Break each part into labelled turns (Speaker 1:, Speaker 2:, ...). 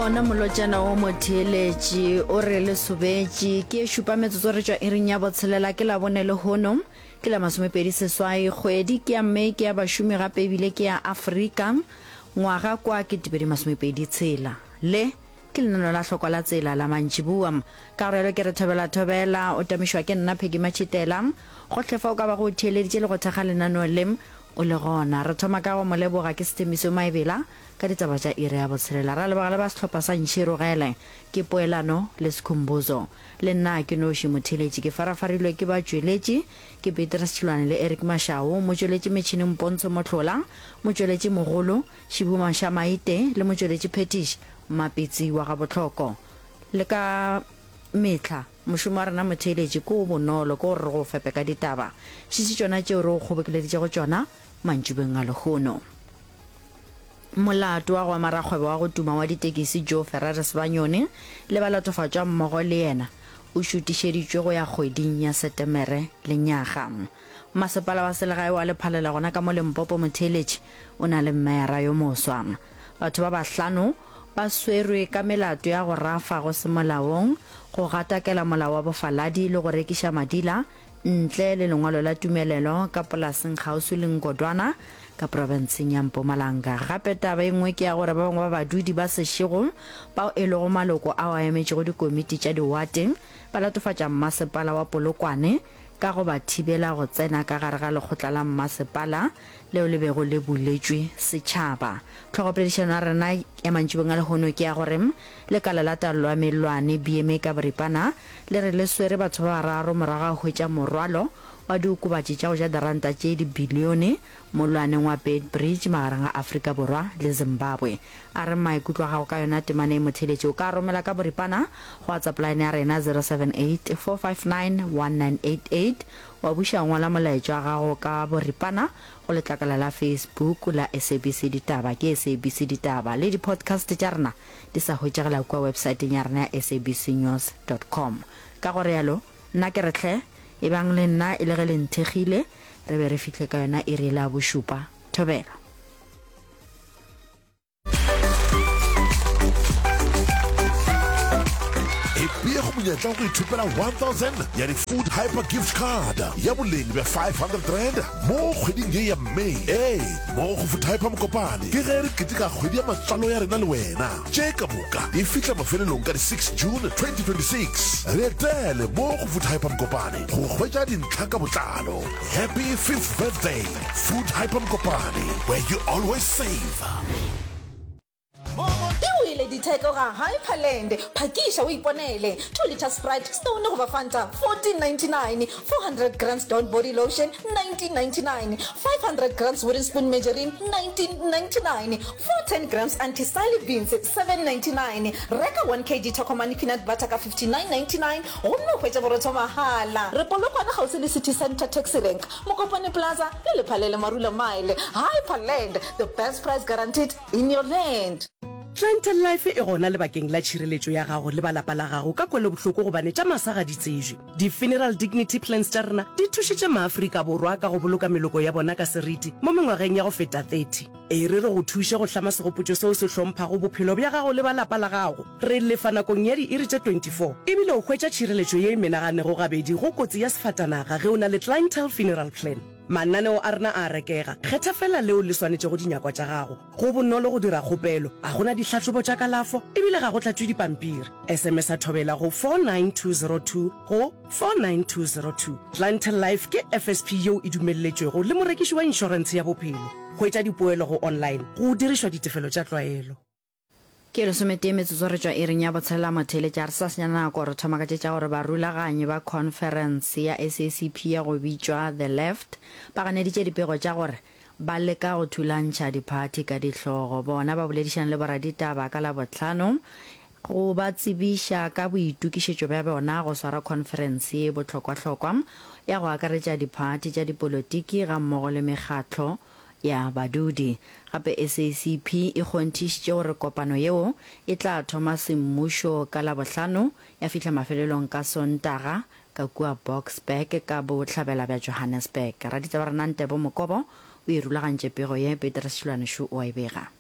Speaker 1: Ona molotšana wo motheeletši o re le sobetše ke e šupa metsotso re tšwa iring ya botshelela ke Labone lehono ke la masomepedi seswai kgwedi ke ya May ke ya bašomi gape ebile ke ya Afrika ngwaga kwa ke 2026 le Ke lenaneo la hlokwa la tsela la mantšiboa. Ka go realo ke re thobela thobela, o tamišwa ke nna Peggy Matšhitela. Gohle fa o ka bago o theeleditše le go thekga lenaneo le, o le gona. Re thoma ka go mo leboga ke Sethembiso Maebela ka ditaba tša iri ya botshelela. Ra leboga le ba sehlopha sa Ntšhirogele, ke Poelano le Skhumbuzo. Le nna ke noši motheeletši ke farafarilwe ke batšweletši, ke Petrus Tšhilwane le Eric Mashau, motšweletši metšhineng Pontsho Mohlola, motšweletši mogolo, Šibu Mašamaite le motšweletši phetiši Mmapitsi wa Gabohloko. Le ka mehla mošomo wa rena motheeletši ke o bonolo, ke gore re go fepe ka ditaba. Šetše tšona tšeo re go kgobokeleditšego tšona mantšibeng a lehono. Molato wa go ema rakgwebo wa go tuma wa ditekisi Joe Ferrer Sebanyoni le balatofatšwa mmogo le yena o šutišeditšwe go ya kgweding ya Setemere lenyaga. Masepala wa selegae wa Lephalela gona ka mo Limpopo motheeletši o na le meyara yo moswa. Batho ba bahlano ba swerwe ka melato ya go rafa go se molaong, go gatakela molao wa bofaladi le go rekiša madila ntle le lengwalo la tumelelo ka polaseng kgauswi le Ngodwana ka profenseng ya Mpumalanga. Gape taba e nngwe ke ya gore ba bangwe ba badudi ba Seshego bao e lego maloko ao a emetšego dikomiti tša diwate ba latofatša mmasepala wa Polokwane ka go ba thibela go tsena ka gare ga lekgotla la mmasepala leo le bego le buletšwe setšhaba. Tlhogopoledišano ya rena ya mantšibong a lehono ke ya gore lekala la taolo ya mellwane, BMA ka boripana, le re le swere batho ba bararo morago ga go hwetša morwalo wa diokobatši tša go ja diranta tše dibilione mollwaneng wa Beitbridge magareng ga Afrika Borwa le Zimbabwe. A re maikutlo a gago ka yona temana e motheeletši. O ka a romela ka boripana go WhatsApp line ya rena 078 459 1988. Wa buša ngwala molaetša wa gago ka boripana go letlakala la Facebook la SABC Ditaba, ke SABC Ditaba. Le di-podcast tša rena di sa hwetšagala kua websaeteng ya rena ya sabcnews dot com. Ka go realo, nna ke re hle, ebang le nna e le ge le nthekgile, re be re fihle ka yona iri yela ya bošupa. Thobela.
Speaker 2: Ipee go monyetla wa go ithopela 1000 ya di-Food Hyper Gift Card ya boleng bja R500 mo kgweding ye ya May. Ee, mo go Food Hyper Mokopane ke ge re keteka kgwedi ya matswalo ya rena le wena. Tše ka moka di fihla mafelelong ka di 6 June 2026. Re etele mo go Food Hyper Mokopane go hwetša dintlha ka botlalo. Happy 5th birthday, Food Hyper Mokopane, where you always save.
Speaker 3: E wele ditheko ga Hyperland. Phakiša o iponele. 2 litre Sprite, Stone goba Fanta, 14.99, 400 grams Dawn body lotion, 19.99, 500 grams Wooden Spoon margarine, 19.99, 410 grams Anti-Sally beans, 7.99. Reka 1 kg Tokomane peanut butter ka 59.99 gomme o hwetše borotho mahala. Re Polokwane kgauswi le City Centre Taxi Rank, Mokopane Plaza le Lephalele Marula Mile. Hyperland, the best price guaranteed in your land.
Speaker 4: Clientele Life e gona lebakeng la tšhireletšo ya gago le ba lapa la gago ka kwelobohloko gobane tša masa ga di tsejwe. Di-funeral dignity plans tša rena di thušitše maAfrika Borwa ka go boloka meloko ya bona ka seriti mo mengwageng ya go feta 30. E re re go thuše go hlama segopotšo seo se hlomphago bophelo bja gago le ba lapa la gago. Re lefa nakong ya diiri tše 24 ebile o hwetša tšhireletšo ye e menaganego gabedi go kotsi ya sefatanaga ge o na le Clientele Funeral Plan. Mananeo a rena a a rekega, kgetha feela leo le swanetšego dinyakwa tša gago. Go bonolo go dira kgopelo, ga go na dihlahlobo tša kalafo ebile ga go tlatšwe dipampiri. SMS-a Thobela go 49202 go 49202. Clientele Life ke FSP yeo e dumelletšwego le morekiši wa inšorentshe ya bophelo. Hwetša dipoelo go online go dirišwa ditefelo tša tlwaelo.
Speaker 1: Ke lesometee metsotso re tšwa iring ya botshelela motheeletša re sa senya nako re thoma ka tše tša gore barulaganyi ba khonferense ya SACP ya go bitšwa The Left ba ganeditše dipego tša gore ba leka go thulantšha diphathi ka dihlogo. Bona ba boledišane le boraditaba ka Labohlano go ba tsebiša ka boitokišetšo bja bona go swara khonferense ye bohlokwahlokwa ya go akaretša diphathi tša dipolotiki gammogo le mekgatlo ya badudi. Gape SACP e kgonthišitše gore kopano yeo e tla thoma semmušo ka Labohlano ya fihla mafelelong ka Sontaga ka kua Boksburg ka bohlabela bja Johannesburg. Raditaba rena Ntebo Mokobo o e rulagantše pego ye, Petrus Šilwane Shu o a e bega.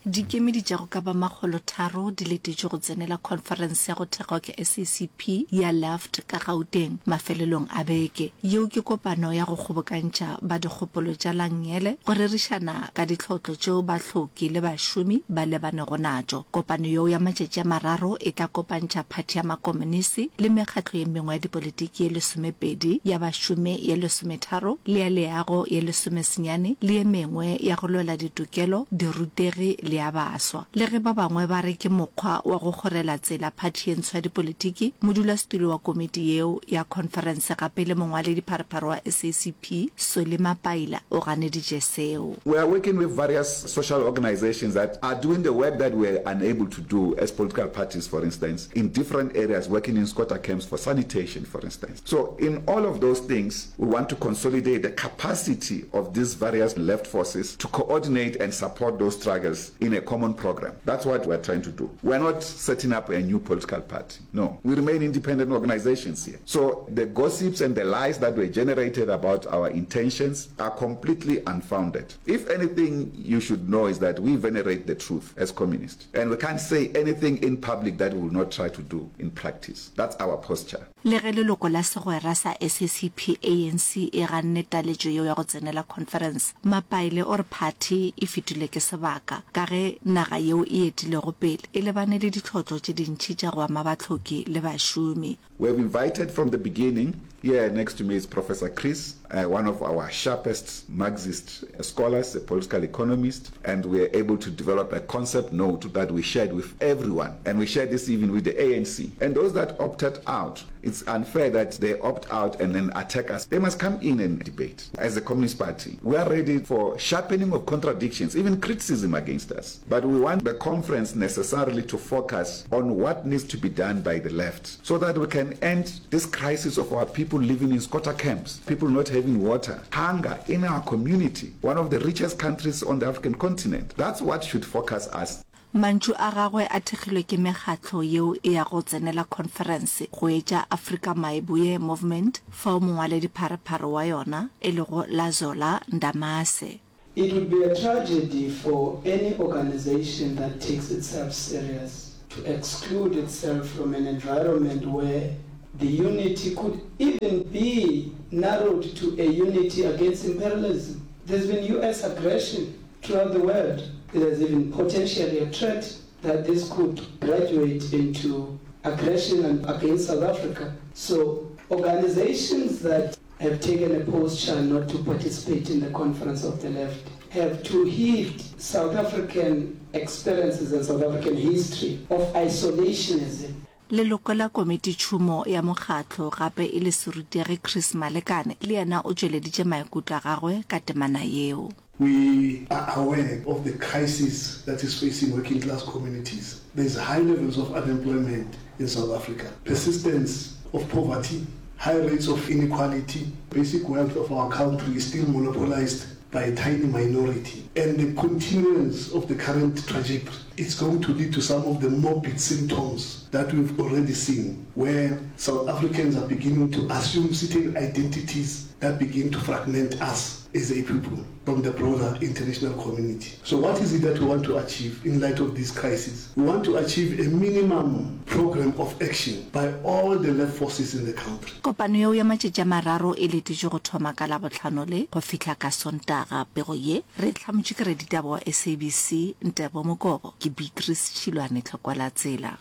Speaker 5: Dikemedi tša go ka ba makgolotharo di letetšwe go tsenela khonferense ya go thekgwa ke SACP ya Left ka Gauteng mafelelong a beke. Yeo ke kopano ya go kgobokantšha ba dikgopolo tša la nngele go rerišana ka ditlhotlo tšeo bahloki le bašomi ba lebanego natšo. Kopano yeo ya matšatši a mararo e tla kopantšha phathi ya makomonisi le mekgatlo ye mengwe ya dipolitiki ye lesomepedi, ya bašomi ye lesometharo le ya leago ye lesomesenyane le ye mengwe ya go lwela ditokelo, dirutegi le ya baswa. Le ge ba bangwe ba re ke mokgwa wa go kgorela tsela phathi ye ntsho ya dipolitiki, modulasetulo wa komiti yeo ya khonferense gape le mongwaledipharephare wa SACP, Solly Mapaila o ganeditše seo.
Speaker 6: We are working with various social organisations that are doing the work that we are unable to do as political parties, for instance, in different areas, working in squatter camps for sanitation, for instance. So in all of those things, we want to consolidate the capacity of these various left forces to coordinate and support those struggles in a common program. That's what we're trying to do. We're not setting up a new political party. No. We remain independent organizations here. So the gossips and the lies that were generated about our intentions are completely unfounded. If anything you should know is that we venerate the truth as communists. And we can't say anything in public that we will not try to do in practice. That's our posture.
Speaker 5: Le ge leloko la segwera sa SACP ANC e ganne taletšo yeo ya go tsenela khonferense, Mapaile o re phathi e fetilwe ke sebaka ka ge naga yeo e etilego pele e lebane le ditlhotlo tše dintši tša go ama bahloki le bašomi.
Speaker 6: We have invited from the beginning, here next to me is Professor Chris, one of our sharpest Marxist scholars, a political economist, and we were able to develop a concept note that we shared with everyone, and we shared this even with the ANC. And those that opted out, it's unfair that they opt out and then attack us. They must come in and debate. As a Communist Party, we are ready for sharpening of contradictions, even criticism against us. But we want the conference necessarily to focus on what needs to be done by the left so that we can end this crisis of our people living in squatter camps, people not having water, hunger in our community, one of the richest countries on the African continent. That's what should focus us.
Speaker 5: Mantšu a gagwe a thekgilwe ke mekgatlo yeo e yago tsenela khonferense go etša Afrika Maeboye Movement fao mongwaledipharephare wa yona e lego Lazola Ndamase.
Speaker 7: It would be a tragedy for any organization that takes itself serious to exclude itself from an environment where the unity could even be narrowed to a unity against imperialism. There's been US aggression throughout the world. There's even potentially a threat that this could graduate into aggression against South Africa. So organizations that have taken a posture not to participate in the conference of the left have to heed South African experiences and South African history of isolationism.
Speaker 5: Leloko la komititšhomo ya mokgatlo gape e le serutegi Chris Malekane le yena o tšweleditše maikutlo a gagwe ka temana yeo.
Speaker 8: We are aware of the crisis that is facing working class communities. There's high levels of unemployment in South Africa, persistence of poverty, high rates of inequality, basic wealth of our country is still monopolized by a tiny minority, and the continuance of the current trajectory is going to lead to some of the morbid symptoms that we've already seen, where South Africans are beginning to assume certain identities that begin to fragment us as a people from the broader international community. So what is it that we want to achieve in light of this crisis? We want to achieve a minimum program of action by all the left forces in the country.
Speaker 5: Kopano yeo ya matšatši a mararo e letetšwe go thoma ka Labohlano le go fihla ka Sontaga. Pego ye re e hlamotšwe ke raditaba wa SABC, Ntebo Mokobo. Ke Beatrice Tšhilwane Tlhokwalatsela.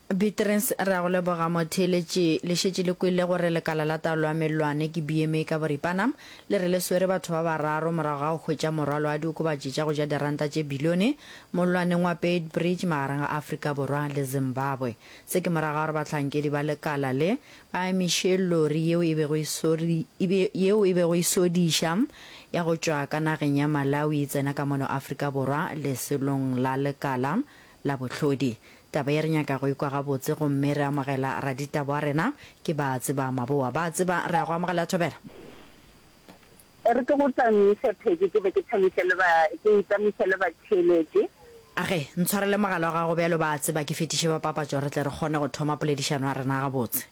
Speaker 1: Beatrice, Re a go leboga motheeletši. Le šetše le kwele gore lekala la taolo ya mellwane ke BMA ka boripana, le re le swere batho ba bararo morago ga go hwetša morwalo wa diokobatši tša go ja diranta tše bilione mollwaneng wa Beitbridge magareng ga Afrika Borwa le Zimbabwe. Se ke morago ga gore bahlankedi ba lekala le ba emiše lori yeo e bego e yeo e bego e sodiša ya go tšwa ka nageng ya Malawi e tsena ka mono Afrika Borwa lesolong la lekala la bohlodi. Taba ye re nyaka go e kwa gabotse gomme re amogela raditaba wa rena ke Baatseba Mabowa. Baatseba, re a go amogela Thobela.
Speaker 9: E re ke go tamiše Peggy ke be ke thabiše le ba, ke itamiše le batheeletši.
Speaker 1: Age, ntshwarele mogala wa gago bjalo Baatseba ke fetiše ba papatšo re tle re kgone go thoma poledišano ya rena gabotse.